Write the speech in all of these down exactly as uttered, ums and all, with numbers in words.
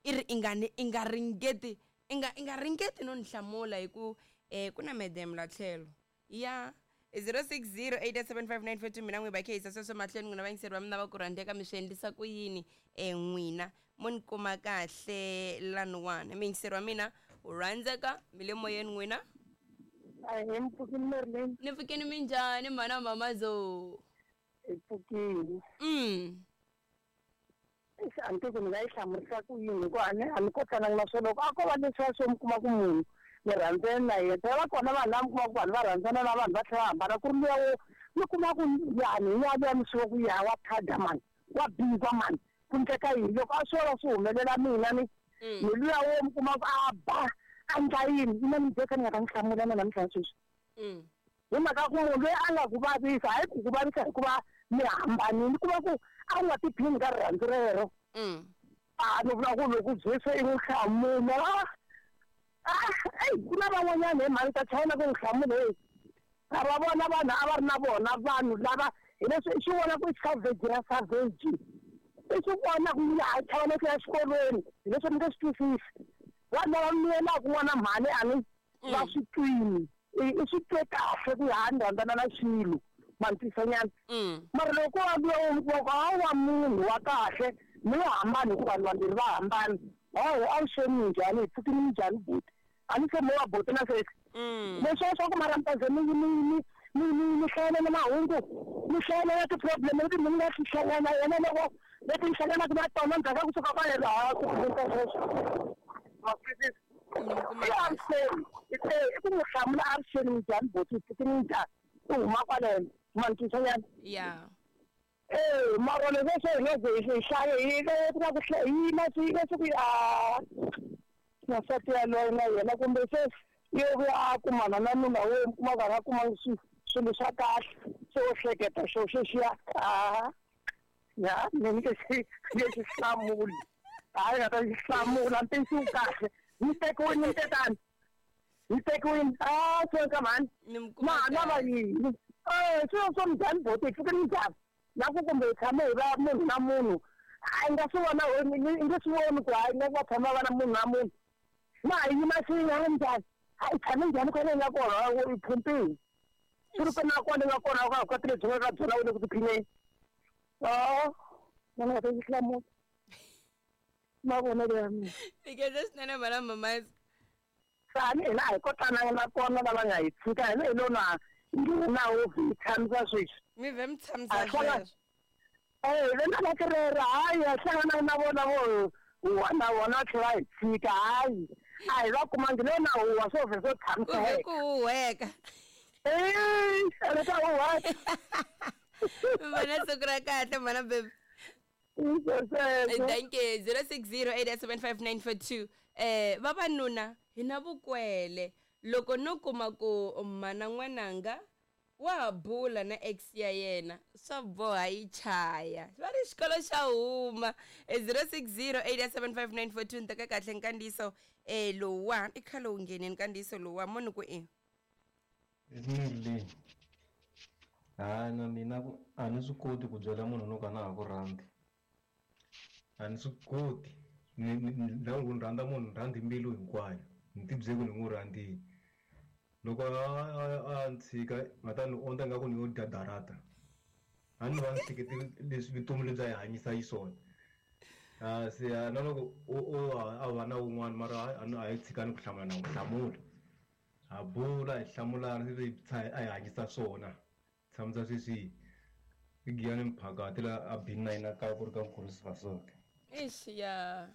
I ri i nga ni i nga ringeti i nga i nga ringeti no ni hlamula hi ku eh ku na madam la tlhelo ya zero six zero eight seven five nine four two mina n'wi va khe yisa sweswo mahlweni n'wina vayingiseri va mina va ku rhandzeka mi swi endlisa ku yini um n'wina mo ni kuma kahle laniwani muyingiseri wa mina u rhandzeka mi le moyeni n'wina. Ahee, mpfukini Merlin. Ni pfukini minjhani mhana mamazo? Hi pfukini. Mm. Eish, a ni tivi ku ni nga yi hlamurisa ku yini hikuva a ni a ni kotananga na swona loko a ko va leswiya swo mi kuma ku munhu mi rhandzene na yena phela va kona vanhu lava mi kuma ku vanhu va rhandzana na vanhu va tlhela va hambana ku ri luya wo mi kuma ku yani hi yaliya mi swi ku ya wa phada mani wa biza mani ku endleka yini loko a swo va swi humelela mina ni Mm. ni luya wo mi kuma ku a ba a endla yini mina ni byeka ni nga ta n'wi hlamula na namuntlha sweswi. Mm. Hi mhaka ku munhu loyi a nga ku vavisa hayi ku ku vavisa hikuva mi hambanile ku va ku a wu nga tiphini ka rirhandzu rero. Mm. A ni vula ku loko Jesu i n'wi hlamula ah eyi ku na van'wanyana hi mhani ta china ku n'wi hlamula hey a va vona vanhu a va ri na vona vanhu lava hi leswi i xi vona ku i savage ra savage i xi vona ku ya ha chava no ku ya xikolweni hi leswi ni nge swi twisisi vanhu lava miyelaka n'wana mhani a ni va swi twini i i swi twe kahle ku ya ni rhandzana na xilo ma ni twisanyana. Mm. Mara loko wa vuya u kuma ku a wa munhu wa kahle mi nga hambani hikuva vanhu vambirhi va hambana hawu a wu xeni minjhani hi pfukini minjhani buti a ni se mo wa buti na sweswi. Mm. Leswiya swa ku mara mi ta ze mi mi mi mi mi mi hlayelela mahungu mi hlayelela ti-problem leti mi nga ti hlangana na yena loko leti mi hlanganaka na tona ndzhaku ka kusuka ka yena ha ku hundza sweswo ma swi twisisa. Ni mi kuma I kahle. avuxeni i ku n'wi hlamula avuxeni minjhani buti hi pfukini minjhani u huma kwaleno ma ni twisanyana. Ya. Eh, mara leswi swo hi nge ze hi hlaye hi ku na ku hlaya hi na swi leswi ku a nsati yaloye na yena kumbe se yo vuya a kumana na nuna wo mi kuma ku a nga kumangi swi swilo swa kahle se wo hleketa xo xexiya a ya ni nge xi nge xi hlamuli hayi nga ta xi hlamula ntiyiso wu kahle ni tekiwini ni tetani ni tekiwini a swi ka mhani Ni mi kuma na ha lava kahle. yini eh swilo swo minjhani boti hi pfuke minjhani na ku kumbe hi tshame hi va munhu na munhu a hi nga swi vona i nge swi voni ku hayi nga va tshama va na munhu na munhu na hi yima swin'we a njhani a hi tshame njhani kwale hi nga kona i phumpini swi ri na kwale nga kona ka vukati lebyi nga ka byona u le ku tiphineni o na ni nga ta xi hlamula mavonelo ya mina. Ni swinene mhana mamazi. Tani hina a hi kotananga na kona lava nga hi tshika hina hi lo na nghena ho hi tshamisa sweswi. Mi vhe mi tshamisa A hlangana sweswo. eh le na rero hayi a hlangana na vona vo huwa na vona va tlhela va hi tshika hayi a hi va kumangi lo na huwa swo vhe swo Ku tshamisa vhe ku huhweka. eh a ta huwa. Mhana siku ra kahle mhana baby. Sweswo. Thank you zero six zero eight seven five nine four two eh vavanuna hi na vukwele loko no kuma ku mhana n'wananga wa ha bula na ex ya yena swa boha yi chaya va ri xikolo xa huma zero six zero eight seven five nine four two ni teka kahle nkandziyiso eh lowuwa i khale wu nghenini nkandziyiso lowuwa mo ni ku i Merlin hayi na mina ku a ni swi koti ku byela munhu no ka na ha ku rhandzi a ni swi koti ni ni ni loko ni rhandza munhu ni rhandza hi mbilu hinkwayo ni ti byele ku ni n'wi rhandzile loko a a a ni tshika nga ta ni ondza ingaku ni yo dya darata a ni va ni hlekete leswi vutomi lebyi a hi hanyisa xiswona a se a na loko o o a va na wun'wana mara a ni a hi tshikani ku hlamula na n'wi hlamula ha bula hi hlamulana se hi a hi hanyisa swona tshamisa sweswi i Giyani Mphakati la a B nine a kaya ku ri ka Nkurisi Fasonke. Ixi ya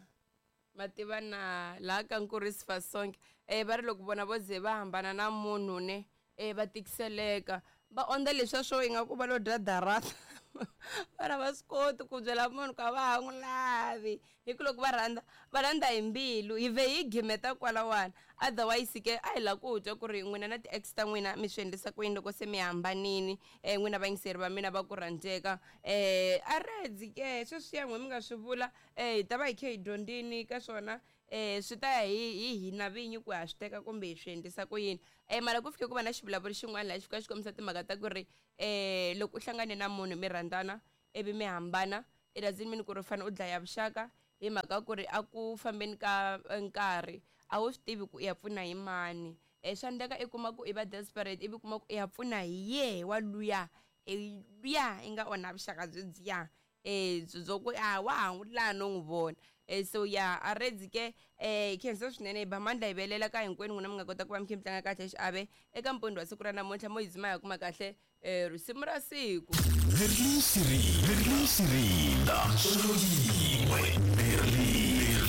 mativa na laha ka Nkurisi Fasonke eh va ri loko vona vo ze va hambana na munhu ne eh va tikiseleka va ondza leswiya swo ingaku va lo dya darata va ri a va swi koti ku byela munhu ku a va ha n'wi lavi hi ku loko va rhandza va rhandza hi mbilu hi vhe hi gimeta kwalawani otherwise ke a hi lava ku twa ku ri n'wina na ti-ex ta n'wina mi swi endlisa ku yini loko se mi hambanini um n'wina vayingiseri va mina va ku rhandzeka um a redzi ke sweswiya n'we mi nga swi vula um hi ta va hi khe hi dyondzini ka swona um swi ta ya hi hi hina vinyi ku ha swi teka kumbe hi swi endlisa ku yini um mara ku fike ku va na xivulavuri xin'wana laha xi fika xi kombisa timhaka ta ku ri um loko u hlangane na munhu mi rhandzana ivi mi hambana it doesn't mean ku ri u fanele u dlaya vuxaka Hi mhaka ku ri a ku fambeni ka nkarhi a wu swi tivi ku i ya pfuna hi mani. um swa endleka i kuma ku i va desperate ivi kuma ku i ya pfuna hi yehe wa luya luya i nga onha vuxaka byebyiya um byo ku a wa ha n'wi laha no n'wi vona. um so ya a redzi ke um khensa swinene hi ba mandla hi velela ka hinkwenu n'wina mi nga kota ku va mi kha mi tlanga kahle xiave eka mpundzu wa siku ra namuntlha mo yi dzima ya kuma kahle um risimu ra siku. Merlin Siri, Merlin Sirinda, solo yin'we, Merlin.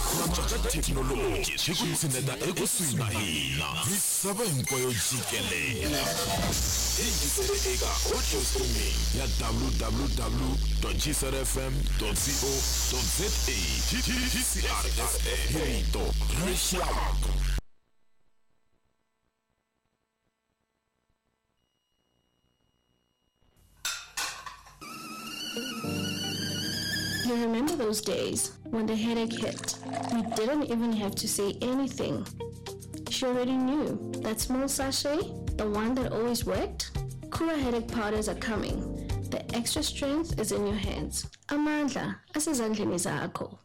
Ku antswa ka thekinoloji swi ku tshineta ekusuhi na hina misava hinkwayo jikelele. Yingisele eka audio streaming ya w w w dot g c r f m dot co dot z a. G C R F M, rito ra rixaka. You remember those days when the headache hit? You didn't even have to say anything. She already knew. That small sachet, the one that always worked? Cooler headache powders are coming. The extra strength is in your hands. Amandla, asezandleni zakho.